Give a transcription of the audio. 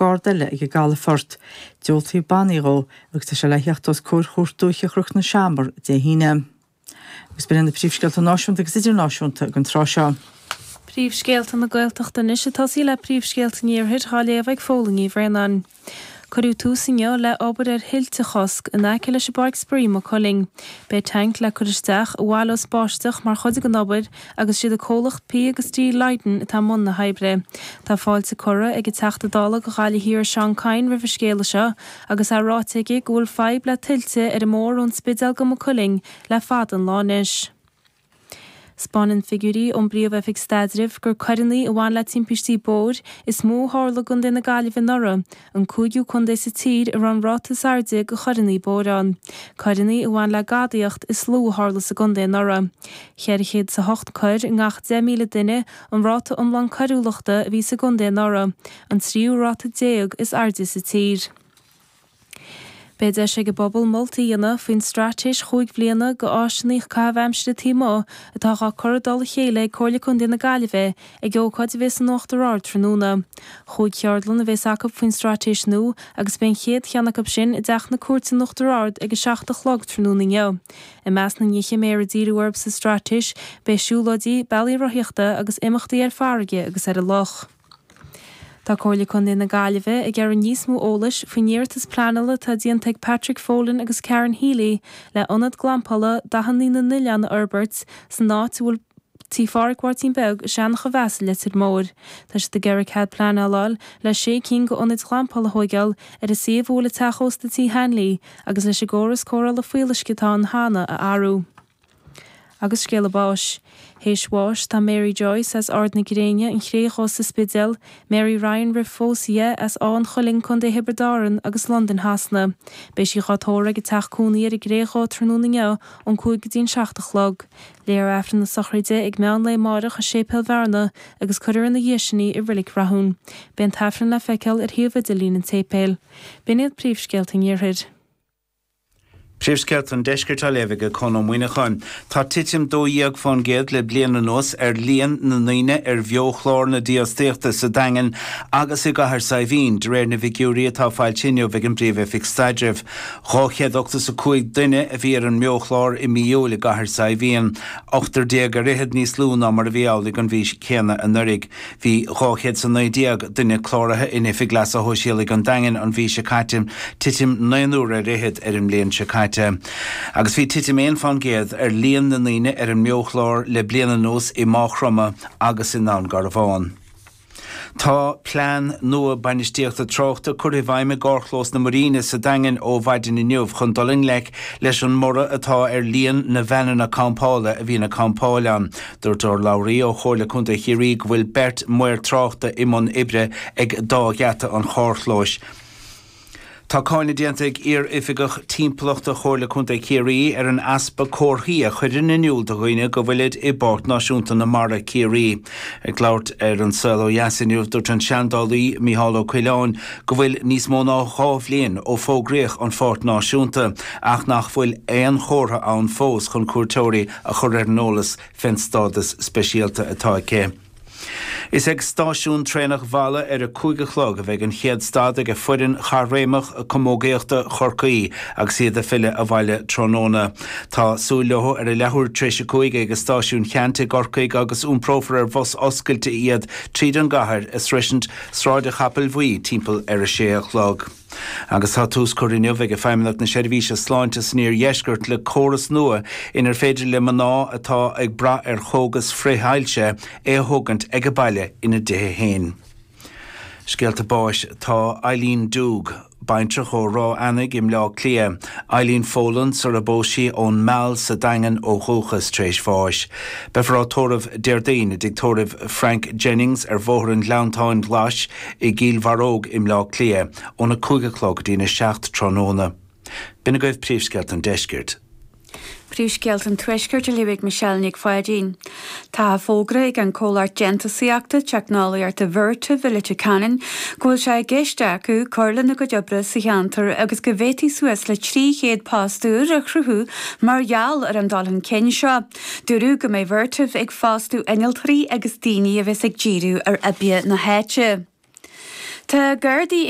Garda eile ag an gcalafort. Diúltaíodh bannaí dhó agus tá sé le theacht os comhair Chúirt Dúiche Chnoc na Seamar Dé hAoine. Agus b'in iad na príomhscéalta náisiúnta agus idirnáisiúnta don tráth seo. Príomhscéalta na Gaeltachta anois ag tosaí le príomhscéalta an Iarthair dhá léamh ag Fódhla Ní Bhraonáin. Cuireadh tús inniu le obair ar thuilte a chosc in aice leis an bPáirc Spraoi i Maigh Cuilinn. Beidh tanc le cur isteach i bhfallaí báisteach mar chuid den obair agus siad an comhlacht P agus D Lydon atá i mbun na hoibre. Tá fáilte curtha ag an Teachta Dála do Ghaillimh Thiar Seán Kyne roimh an scéala seo agus é ráite aige go bhfuil fadhb le tuilte ar an mbóthar ón Spidéal go Maigh Cuilinn le fada an lá anois. 'Spáineann figiúirí ón bPríomh-Oifig Staidrimh gur coireanna a bhain le timpistí bóthair is mó a tharla i gContae na Gaillimhe anuraidh, an cúigiú contae sa tír a raibh an ráta is airde de choireanna bóthair ann. Coireanna a bhain le gadaíocht is lú a tharla sa gcontae anuraidh. 408 coir i ngach 10,000 duine an ráta iomlán coiriúlachta a bhí sa gcontae anuraidh, an tríú ráta déag is airde sa tír. Beidh deis ag an bpobal moltaí a dhéanamh faoin straitéis chúig bhliana do áiseanna caitheamh aimsire taobh amuigh atá dhá cur i dtoll a chéile ag Comhairle Contae na Gaillimhe ag ócáid a bheas in Uachtar Ard tráthnóna. Chúig cheardlann a bheas acu faoin straitéis nua agus beidh an chéad cheann acu sin i dTeach na Cúirte in Uachtar Ard ag a 7 a chlog tráthnóna inniu. I measc na nithe a mbeifear ag díriú orthu sa straitéis beidh siúlóidí, bealaí rothaíochta agus imeachtaí ar farraige agus ar an loch. Tá Comhairle Contae na Gaillimhe ag iarraidh níos mó eolais faoin iarratas pleanála atá déanta ag Patrick Folan agus Karen Healy le ionad glampála dathanna na n-oileán a fhorbairt san áit a bhfuil Tigh Phádhraic Mháirtín Beag i Seanach an Mheasa i Leitir Móir. Tá siad ag iarraidh cead pleanála a fháil le sé cinn d'ionaid ghlampála a thóigeáil ar an suíomh a bhfuil an teach ósta Tí Hanley agus leis an gcóras cóireála fuíolluisce atá ann cheana a athrú. Agus scéala báis. Théis bháis tá Mary Joyce as Ard na Gréine, An Chré Dhubh sa Spidéal, Mary Ryan roimh phósadh di, as Áth an Chuilinn, Co. Thiobraid Árann agus Londain Shasana. Beidh sí dhá tórramh ag an teach cónaí ar an gCré Dhubh tráthnóna inniu ón 5 go dtí an 7 a chlog. Léifear Aifreann na sochraide ag meán lae amáireach i Séipéal Bhearna agus cuirfear ina dhiaidh sin í i Reilig Rathún. Beidh an tAifreann le feiceáil ar shuíomh idirlín an tséipéil. B'in iad príomhscéalta an Iarthair. Príomhscéalta an Deiscirt á léamh ag Conn Ó Muíneacháin. Tá titim 12% le bliain anuas ar líon na ndaoine ar bheo-chlár na dífhostaíochta sa Daingean agus i gCathair Saidhbhín, de réir na bhfigiúirí atá foilsithe inniu ag an bPríomh-Oifig Staidrimh. 285 duine a bhí ar an mbeochlár i mí Iúil i gCathair Saidhbhín, ochtar déag ar fhichead níos lú ná mar a bhí amhlaidh an mhí chéanna anuraidh. Bhí 219 duine cláraithe in Oifig Leasa Shóisialaigh an Daingin an mhí seo caite, titim naonúr ar fhichead ar an mbliain seo caite. Agus bhí titim 1 fán gcéad ar líon na ndaoine ar an mbeochlár le bliain anuas i Maigh Chromtha agus i nDún Garbhán. Tá plean nua bainistíochta tráchta curtha i bhfeidhm i gcarrchlós na Muiríne sa Daingean ó mhaidin inniu chun dul i ngleic leis an mborradh atá ar líon na veaineanna campála a bhíonn ag campáil ann. Dúirt urlabhraí ó Chomhairle Contae Chiarraí go bhfuil beirt maor tráchta i mbun oibre ag dá gheata an charrchlóis. Tá cáineadh déanta ag iar-oifigeach timpeallachta Chomhairle Contae Chiarraí ar an easpa comharthaí a chuireann in iúl do dhaoine go bhfuilid i bPáirc Náisiúnta na Mara, Ciarraí. Ag labhairt ar An Saol Ó Dheas inniu, dúirt an seandálaí Mícheál Ó Coileáin go bhfuil níos mó ná 2 bhliain ó fógraíodh an Pháirc Náisiúnta ach nach bhfuil aon chomhartha ann fós chun cuairteoirí a chur ar an eolas fén stádas speisialta atá aici. Is ag stáisiún traenach Mhalla ar a 5 a chlog a bheidh an chéad stad ag foireann chaithréimeach camógaíochta Chorcaí agus iad ag filleadh abhaile tráthnóna. Tá súil leo ar a leathuair tar éis a 5 ag Stáisiún Cheannt i gCorcaigh agus iomprófar ar bhus oscailte iad tríd an gcathair ag sroisint Sráid an Chapaill Bhuí timpeall ar a sé a chlog. Agus tá tús curtha inniu ag Feidhmeannacht na Seirbhíse Sláinte san Iardheisceart le córas nua inar féidir le mná atá ag brath ar chógas frith-ailse é a thógaint ag a baile ina dtithe féin. Scéalta báis Tá Eileen Doogue, baintreach ó Ráth Eanaigh i mBleá Cliath, Eileen Folan sar a bpós sí ón Meall sa Daingean ó dhúchas, tar éis bháis. Beifear á tórramh Déardaoin i dtigh tórraimh Frank Jennings ar Bhóthar an Ghleanntáin Ghlais i gCill Bharróg i mBleá Cliath óna 5 a chlog go dtína 7 tráthnóna. B'in agaibh príomhscéalta an deiscirt. Príomhscéalta an Tuaiscirt á léamh ag Michelle Nic Pháidín. Tá fógartha ag an comhlacht déantúsaíochta teicneolaíochta Vertiv i Leitir Ceanainn go bhfuil sé i gceist acu cur lena gcuid oibre sa cheantar agus go bhféadfaí suas le 300 post úr a chruthú mar gheall ar an dul chun cinn seo. Dúradh go mbeidh Vertiv ag fostú innealtóirí agus daoine a bheas ag díriú ar oibrithe na háite. Tá Gardaí.